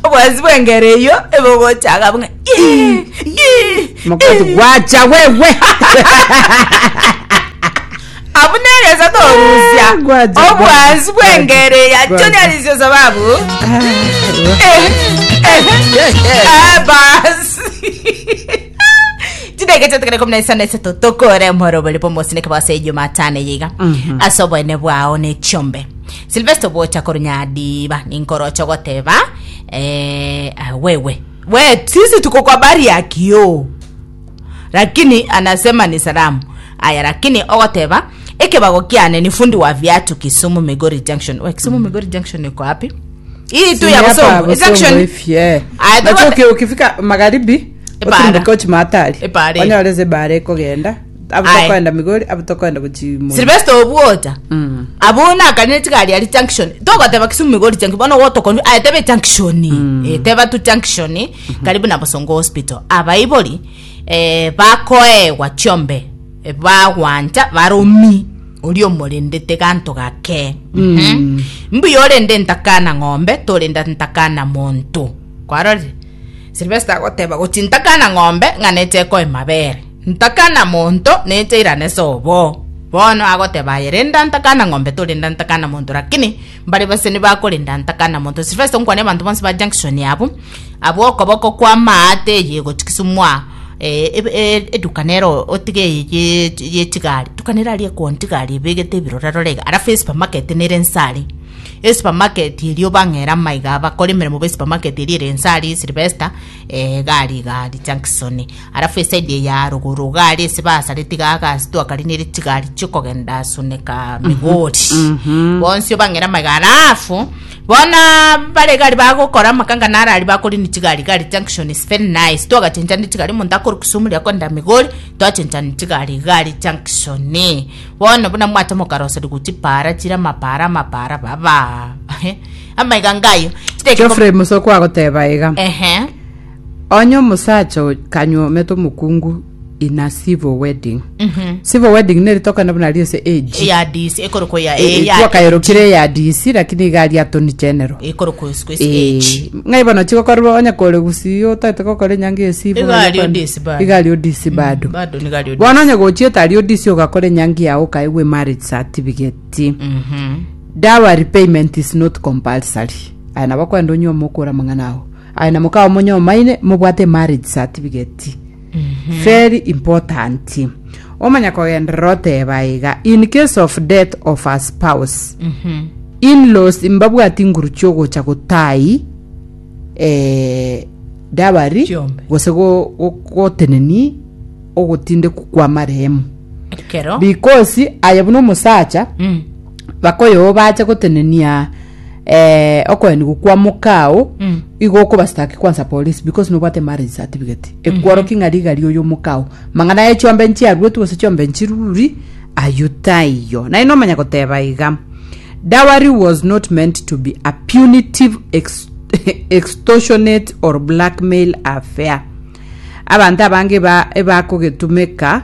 Obwansi bw'engero eyio ebogochaga buna "Ii, ii, Mokoti ii." gwacha wewe. Abwo negesa torusia Gwacha, obwansi bw'engero eya gwacha. Junior Alisio sababu Eh, eh, eh, basi chidege chiatigara ikomi na isano isato tokore omorobori bw'omosineke bwase jumatano eye iga ase oboene bwao ne chiombe silvester bocha korwa nyadiba ninkoroche goteba eh, ah, wewe we sisi tuko kwa bari ya kioo lakini anasema ni salamu aya lakini ogoteba ekebago kiane ni fundi wa viatu kisumu migori junction we kisumu migori junction iko wapi hii tu ya Hapa Bosongo Bosongo junction hivi, eh. Aya, Nacho tugote- uki- ukifika magharibi Ebara. otirimboke ochi matari Ebara. onyore ase ebara ekogenda abu Aye. tokoenda migori abu tokoenda gochi Sylvester obwota Mm. abu nakanire chigari ari junction togoteba Kisumu Migori junction bono gotokoni aye tebe junction eh, teba tu junction karibu na Bosongo hospital abaibori eh, bakoegwa chiombe eh, bagwancha baromi oria omorendete ganto gake mm. mbuya orende ntakana ng'ombe torenda ntakana monto kwarorire Sylvester agoteba gochi ntakana ng'ombe ng'a neche ekoe mabere ntakana monto neche irane sobo bono agoteba aye renda ntakana ng'ombe torenda ntakana monto lakini mbare baseni bakorenda ntakana monto Sylvester nkwane abanto bonsi ba junction abwo abwo okoboko kwa maate eye gochi Kisumu aa eh, ebe- eh, eduka nero otige eye ye- ye chigari eduka nere aria ekoni chigari ebegete ebirora rora iga alafu esupermarket nere nse aria Esupermarket eria obang'ere amaiga abakore emeremo b'esupermarket eria ere inse aria Sylvester eh, iga aria iga aria Junction. Alafu eside eye ya rogoro iga aria ase basareti iga agasi twakarinire chigari chiokogenda Suneka Migori. Bonsi obang'ere amaiga alafu bono bare iga aria bagokora amakanga naro aria bakorina chigari iga aria Junction is very nice. Twagachenchani chigari omonto akorwa Kisumu riria akogenda Migori twachenchani chigari iga aria Junction. Bono buna mwacha mokaroserigwa chipaara chire amapaara amapaara baba amaiga ngayo Chidakika Geoffrey Musoko agoteba iga ehe onye omosacha o- kanyuomete omokungu in a civil wedding civil wedding neri tokana buna ria ase age ya DC ekorokwa ya Eh, eh, ya twakayerokire ya DC lakini iga aria attorney general ekorokwa siku ase Eh, age ng'ai bono chigokorwa onye kore gusii otaete gokora enyangi ya civil Iga aria onye ODC bado. iga aria ODC bado bado niga aria bono onye gochiete aria ODC ogakora enyangi yao okaegwa emarriage certificate Mhm. dowry payment is not compulsory aye nabo kwenda onywe omokora amang'ana ao aye na mokao monyomaine mobwate marriage certificate very important omanya kogenderera oteba iga in case of death of a spouse in-laws mbabwati nguru chiogocha gotai eh, dowry Chiombe. gose go- go- goteneni ogotindeku kwa marehemu ekero because aye buna omosacha Mm. bakoyo bache gotenenia eh, okoenigwa kwa mokao Mm. igo okobastaki kwanza polisi because nobwate marriage certificate ekworokia ng'a rigari oyo mokao mang'ana ya chiombe nchiaruetwe gose chiombe nchiruri ayio taiyo naye nomanya goteba iga dowry was not meant to be a punitive ex extortionate or blackmail affair abanto abange ba ebakogetumeka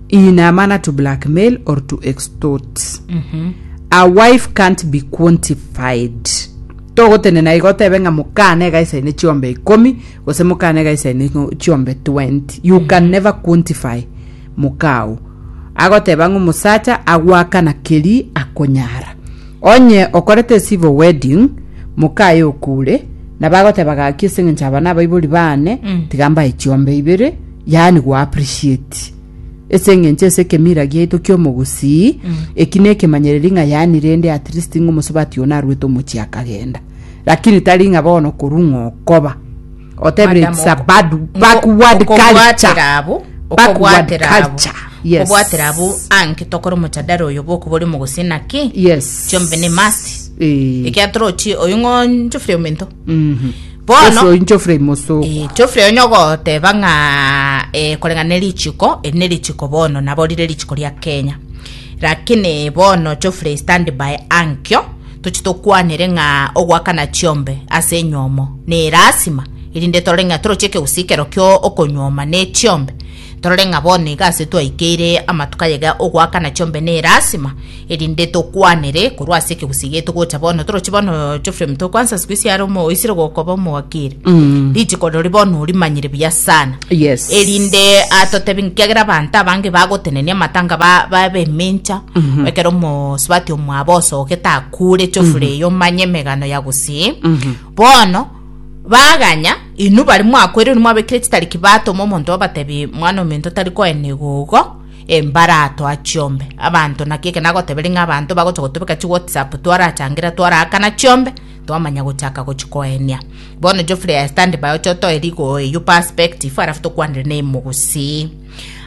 in a manner to blackmail or to extort a wife can't be quantified togotenena igo otebe ng'a mokane egaisaine chiombe ikomi gose mokane egaisaine ng'o- chiombe 20 you can never quantify mokao agoteba ng'a omosacha agwakana keri akonyara onye okorete civil wedding mokaye okure nabo agoteba gaki ase eng'encho aba nabaibori bane tiga mbae chiombe ibere yaani go appreciate ase eng'encho ase ekemira giaito ki'omogusii eki nekemanyereri ng'a yaani rende at least ng'a omosubati oyo narwete omochie akagenda lakini tari ng'a bono korwa ng'a okoba otebire Madam, it's a oko- bad backward culture okobwatera abwo Backward okobwatera abwo culture yes okobwatera abwo anke tokore omochadara oyo bwokobori omogusii naki yes chiombe ne must Eh. ekiagera torochi oyo ng'o Geoffrey ominto Mhm. Bono- Geoffrey Geoffrey Mosoko Eh, Geoffrey onye ogoteba ng'a eh, koreng'ana ne richiko eri ne richiko bono nabo rire richiko ria Kenya lakini bono Geoffrey stand by ankio tochi tokwanere ng'a ogoakana chiombe ase enyomo ne erasima erinde torore ng'a toroche ekegusii ekero kio okonyuoma ne chiombe. Torore ng'a bono iga ase twaikeire amatuko ayega ogoakana chiombe ne erasima, erinde tokwanere korwa ase ekegusii giaito gocha bono. Torochi bono Geoffrey Mutua kwanza siku hizi are omo oisire gokoba omowakili. Richiko rori bono orimanyire buya sana. Yes. Erinde atotebi nkiagera abanto abange bagotenenia amatanga ba babemencha ekero omosubati omwabo osogete akure Geoffrey eyo omanye emegano ya gusii. Bono Baganya, inwe baria mwakwereirwe mwabekire chitariki batoma omonto obatebi, Mwana ominto tari koenigwa igo, embaratoa chiombe. Abanto naki eke nagoteberia ng'a abanto bagocha gotobeka chi WhatsApp twarachangera twaraakana chiombe, twamanya gochaka gochikoenia. Bono Geoffrey aye stand by oche otoe rigo eywo perspective alafu tokwanere na emogusii.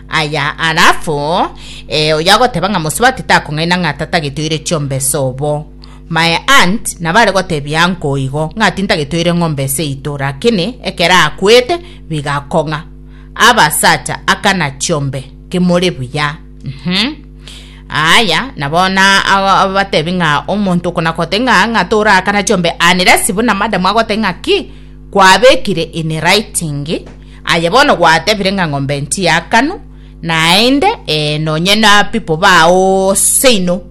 Aya alafu eh, oyo agoteba ng'a mosubati takong'aina ng'a tatagete oire chiombe sobo. My aunt nabo are gotebia uncle igo ng'a tintagete oire ng'ombe seito lakini ekero akwete bigakong'a. Abasacha akana chiombe kimore buya. Uhum. Aya nabo na abatebi ng'a omonto okona gote ng'a ng'a torakana chiombe unless buna madam agote ng'a ki kwabekire in writing aye bono gwatebire ng'a ng'ombe nchiakanu naende eh, nonye na people bao seino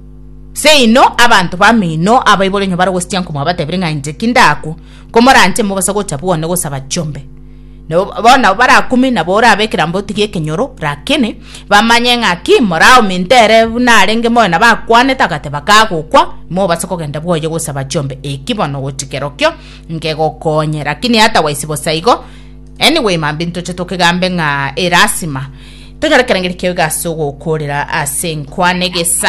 Seino abanto bamino abaibori onye bare gositia nkomwabatebire ng'a inche ki ndakwo, komoranche mobasa gocha bwone gosaba chiombe. Nabo bono nabo barakumi nabo orabe ekerambe otige ekenyoro, rakini bamanye ng'a ki moraominto ere buna arenge moyo nabo akwanete agateba kagokwa, mobase kogenda bwoye gosaba chiombe. Eki bono gochi kerokio nkegokonye, rakini otherwise bosa igo. Anyway mambia ntoche tokegambe ng'a erasima tonyore ekerengeri kiao iga ase ogokorera ase enkwana egesa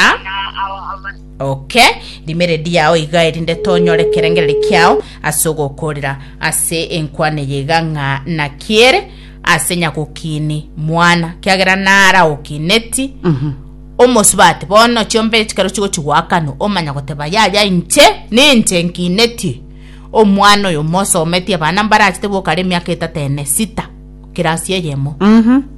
okay rima eredi yao iga erinde tonyore ekerengereri kiao ase ogokorera ase enkwana eye iga ng'a naki ere ase nyagokini mwana kiagera nara okineti omosubati bono chiombe chikero chigochi goakanwa omanya goteba yaya inche ninche nkineti Omwana oyo mosometie abana mbarachete bokare emiaka etato ene sita kirasi eyemo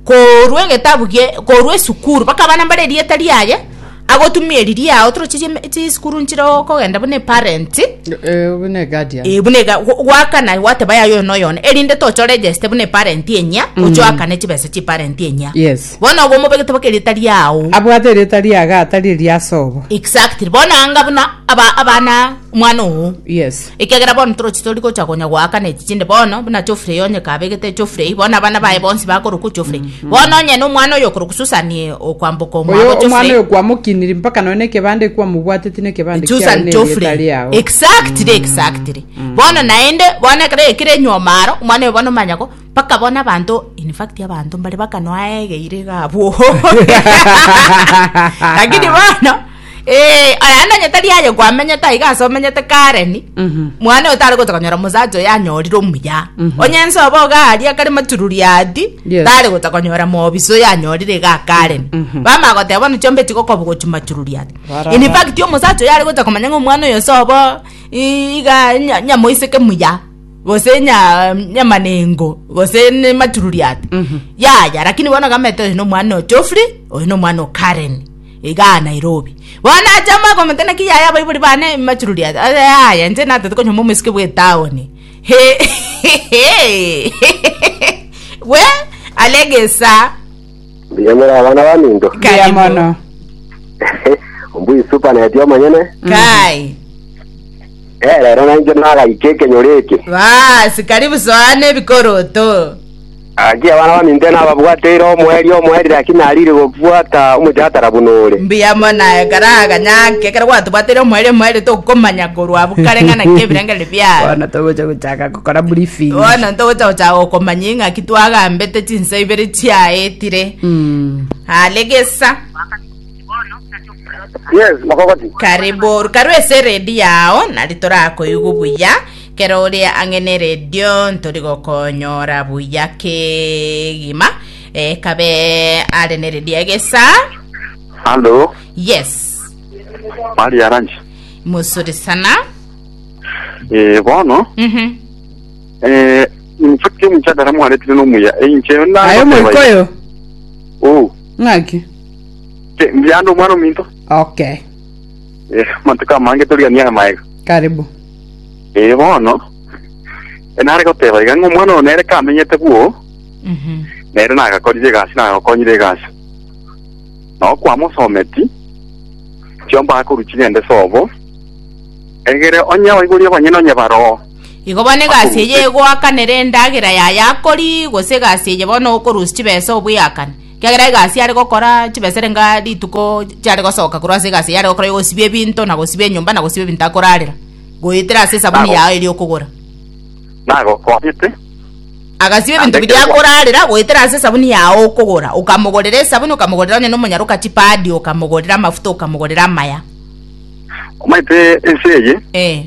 korwa egetabu gie korwa esukuru mpaka abana mbare erieta riaye agotumia eri riao toroche chime chisukuru nchire okogenda buna eparent Eh, buna eguardian. eh, buna ega gwa- gwakana gwateba yaya oyo na oyone erinde tocha oregeste buna eparent enyia oche oakane chibesa chia eparent enyia Yes. bono obo omobegete mpaka erieta riao Abwate erieta riaga atari eria sobo. exactly bono anga buna aba abana Omwana oo. Yes. Ekiagera bono torochi tori gocha konya goakana echi chinde bono, buna Geoffrey onye kabegete Geoffrey, bono abana baye bonsi bakorokwa Geoffrey. Bono onye na omwana oyo okorokwa Susan okwamboka omwabo Oyo omwana Geoffrey, oyo kwamokiniri mpaka nonya na ekebande kwamobwateti na ekebande kiaye Susan na erieta Geoffrey. riao. Exactly, exactly. Bono naende, bono ekero ekire enyuoma aro, omwana oyo bono omanya go, mpaka bono abanto, in fact abanto mbare bakanoa aegeire iga abwo. Lakini bono, Eh, aya nonye tari aye kwamenyete aiga ase omenyete Karen, mwana oyo tare gocha konyora omosacha oyo anyorire omuya. Onye ense obo iga aria kare matururi ati, Yes. tare gocha konyora mobisa oyo anyorire iga Karen. Bamanya goteba bono chiombe chigokoba gochia matururi ati. Baraba. In fact omosacha oyo are gocha komanya ng'a omwana oyo ase obo i- iga nya- nyamoiseke muya, gose nya nyamanengo, gose ne matururi ati. Yaya, lakini bono gamete oyo na omwana o Geoffrey, oyo na omwana o Karen. Igaa Nairobi. Bono ache amakomete naki yaya abaibori bane machururi aya. Yaya inche natete konyoma omoiseke bwe etaoni. We alegesa. Mbuya more abana baminto. Mbuya Karibu. mono. Ombuya supaneti omonyene. Kai. Eh, rero nainche nagaika ekenyoro eke. Basi karibu soana ebikoroto. Gaki abana baminto nababwateire omoerio omoerio lakini narire gobwata omochatara buna ore. Mbuya mono aye karaga nyake ekero gwatobwateire omoerio omoerio tokomanya korwa abwo kare ng'a naki ebirengererio biaye. Bono togocha gochaka gokora briefing. Bono ntogocha gochaka gokomanya ng'aki twagambete chinsa ibere chiaetire. Alegesa. Yes, mokogoti. Karibu karwe ase eredio yao nari torakoigwa buya kero ore ang'e ne eredio ntori gokonyora buya kegima eh, kabe are ne eredio egesa Halo, yes Mari Aranji. mosuri sana Eh, bono, mhm eh, in fact omuchadara mwaretire nomuya. Eh, inche Aye nagoteba omoikoyo. Oh, Ng'aki? ke mbyando omwana ominto. Okay. Eh, amatuko amange torigania amaega. Karibu. Eh, bono, eh, nare goteba iga ng'a omwana oyo nere kamenyete bwo, mhm. Nere nagakorire egasi nagakonyire egasi. Nao kwamosometi, chiombe akorwa chigende sobo, egere onye abaibori abanyene onye baroo. Igo bono egasi eye egoakanera endagera yaye akori, gose egasi eye bono okorusia chibesa obweakane. Ekiagera egasi are gokora chibesa ere nga rituko chiare gosoka korwa ase egasi eye are gokora yogosibia ebinto na gosibia enyomba na gosibia ebinto akorarera, goetera ase esabuni Nago- yao eria okogora. Nagokonyete, Agasibia ebinto Naende biria ekero akorarera goetera ase esabuni yao okogora. Okamogorera esabuni, okamogorera onye nomonyaroka chipadi, okamogorera amafuta, okamogorera amaya. Omanyete ense eye, Eh.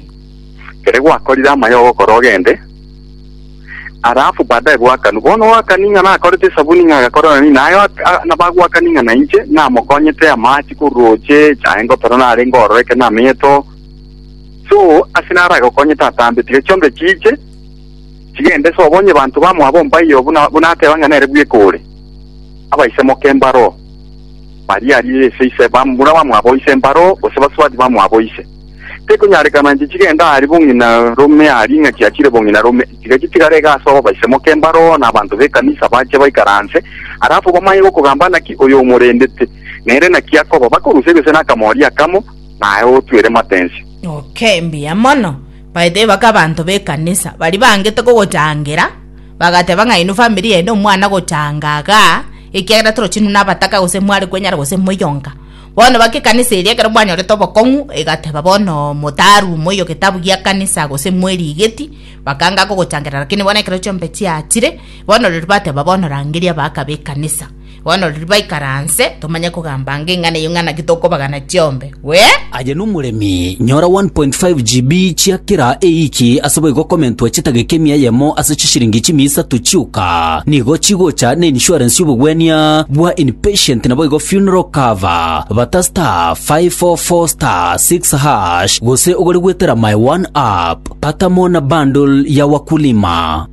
kere gwakorire amaya ogokora ogende, alafu baadaye bwakanwa. Bono oakani ng'a nakorete esabuni ng'a agakora nani, naye oak- a- nabagwakani ng'a nainche namokonyete amache korwa roche, echae ngotora narenge ororo ekero namenyete oo. So, ase naragokonyete atambe, tiga chiombe chiiche, chigende sobo onye banto bamwabo mbaiyo buna buna ateba ng'a nere bweka ore. Abaise moke mbaroo, baria aria ase ise bamura bamwabo ise mbaroo, gose basubati bamwabo ise. Tekonyarekana inche chigende aria bong'ina rome aria ng'a chiachire bong'ina rome, tiga chitigare iga ase obobaise moke mbaroo, na abanto b'ekanisa bache baikaranse, alafu bamanye gokogamba naki oyo omorendete, nere naki akoba, bakorusia gose nakamori akamo, naye otwere matensi. Okay, mbuya mono. By the way, baka abanto b'ekanisa baria bangete kogochangera, bagateba ng'a inwe family yaino omwana gochanga igaa, ekiagera torochi inwe nabataka gose mware kwenyara gose moyonga. Bono baka ekanisa eria ekero mwanyorete obokong'u, egateba bono motarwe moiyo getabu gia kanisa gose mwerigeti, bakanga kogochangera lakini bono ekero chiombe chiachire, bono riria bateba bono rangeria abagaka b'ekanisa. Bono riria baikaranse, tomanye kogamba ange ing'ana eyio ng'a naki tokobagana chiombe. Wee! Aye nomoremi, nyora 1.5 GB chia kera eiki ase boigo komentwa chitageka emia eyemo ase chishiringi chimia isato chioka. Nigo chigocha ne insurance y'obogwenia bwa inpatient naboigo funeral cover. Bata *544*6# gose ogore goetera My One App. Pata mo na bundle ya Wakulima.